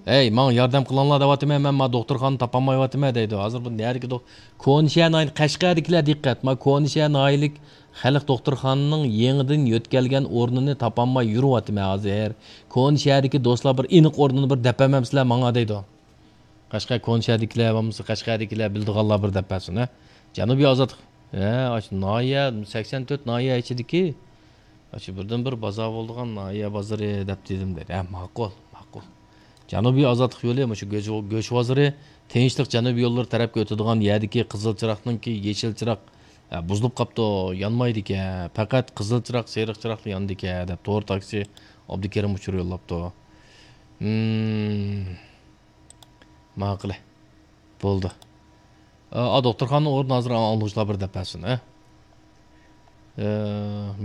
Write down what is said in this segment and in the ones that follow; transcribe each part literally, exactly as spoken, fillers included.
ھەي، ماڭا ياردەم قىلىڭلار دەۋاتىمەن، مەن ما دوختۇرخانا تاپالمايۋاتىمەن دەيدۇ. ھازىر بۇ نەدىكى دوخ-، كونىشەھەر ناھىيە، قەشقەردىكىلەر دىققەت، ما كونىشەھەر ناھىيەلىك خەلق دوختۇرخانىنىڭ يېڭىدىن يۆتكەلگەن ئورنىنى تاپالماي يۈرۈۋاتىمەن ھازىر. كونىشەھەردىكى دوستلار بىر ئېنىق ئورنىنى بىر دەپ بەرمەمسىلەر ماڭا دەيدۇ. قەشقەر كونىشەھەردىكىلەر بولمىسا، قەشقەردىكىلەر بىلىدىغانلار بىر دەپ بەرسۇن، ھە. جەنۇبىي ئازادلىق، ھە، ئاشۇ ناھىيە، سەكسەن تۆت ناھىيە ئىچىدىكى، ئاشۇ بىردىن بىر بازار بولىدىغان ناھىيە بازىرى دەپ دېدىم دەيدۇ. ھە، ماقۇل، ماقۇل. جەنۇبىي ئازادلىق يولى مۇشۇ گۆش، گۆش بازىرى، تىنچلىق جەنۇبىي يوللىرى تەرەپكە ئۆتىدىغان يەردىكى قىزىل چىراغنىڭكى يېشىل چىراغ، ھە، بۇزۇلۇپ قاپتۇ، يانمايدىكەن. پەقەت قىزىل چىراغ، سېرىق چىراغلا يانىدىكەن دەپ تور تاكسى ئابدۇكېرىم ئۇچۇر يوللاپتۇ. ھىم. ماقۇلى. بولدى. ئا، ئا، دوختۇرخانىنىڭ ئورنىنى ھازىر ئاڭلىغۇچىلار بىر دەپ بەرسۇن، ھە؟ ئە،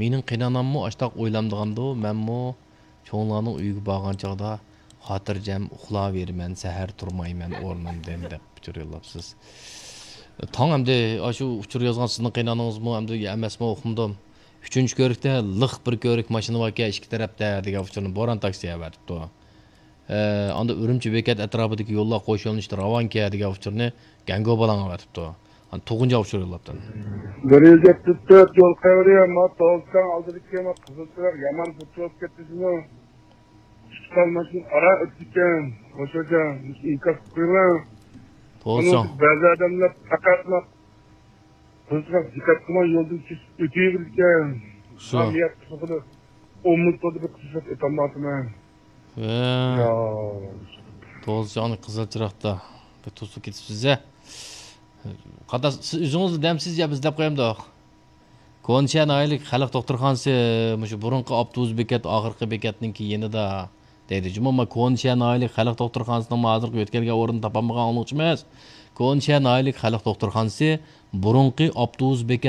مېنىڭ قېيناناممۇ ئاشتاق ئويلامدىغاندۇ، مەنمۇ چوڭلارنىڭ ئۆيىگە بارغان چاغدا خاتىرجەم ئۇخلاۋېرىمەن، سەھەر تۇرمايمەن ئورنۇمدىن دەپ ئۇچۇر يوللاپسىز. تاڭ ئەمدى ئاشۇ ئۇچۇر يازغان سىزنىڭ قېينانىڭىزمۇ ئەمدى ئەمەسمۇ ئۇقمىدىم. ئۈچىنچى كۆرۈكتە لىق بىر كۆرۈك ماشىنا باركەن ئىككى تەرەپتە دېگەن ئۇچۇرنى بوران تاكسى ئەۋەتىپتۇ. ئە، ئاندا ئۈرۈمچى بېكەت ئەتراپىدىكى يوللار قوش يۆنىلىشتە راۋانكەن دېگەن ئۇچۇرنى گەڭگو بالاڭ ئەۋەتىپتۇ. ئانا تۇغۇنجا ئۇچۇر يوللاپتۇ. بىر يۈز يەتمىش تۆت يول قەۋرى، ما توغرىسىنىڭ ئالدىدىكى ما قىزىل چىراغ يامان بۇرۇلۇپ كەتتى شۇنىڭ. ئىككى خىل ماشىنا ئارا ئۆتىدىكەن. خوش خوجا، ئىنكاس قىلىڭ. توغرا. بەزى ئادەملەر پەقەتلا قىزغا دىققەت قىلماي يولدىن كېسىپ ئۆتۈۋېرىدىكەن. شۇ. مەن نىيەت قىلغىلى ئون مىنۇت بولدى، بىر قىزغا ئۆتەلمەيۋاتىمەن. ھە. يا. توغرا، قىزىل چىراغدا بىر توسۇپ كېتىپسىز ھە. قانداق، سىز ئۆزىڭىز دەمسىز يا بىز دەپ قويامدۇق؟ كونىشەھەر ناھىيەلىك خەلق دوختۇرخانىسى مۇشۇ بۇرۇنقى ئاپتوبۇس بېكەت ئاخىرقى بېكەتنىڭكى يېنىدا دەيدۇ. جۇمۇ، ما كونىشەھەر ناھىيەلىك خەلق دوختۇرخانىسىنىڭ ما ھازىرقى يۆتكەلگەن ئورنىنى تاپالمىغان ئاڭلىغۇچىمىز. كونىشەھەر ناھىيەلىك خەلق دوختۇرخانىسى بۇرۇنقى ئاپتوبۇس بېكەت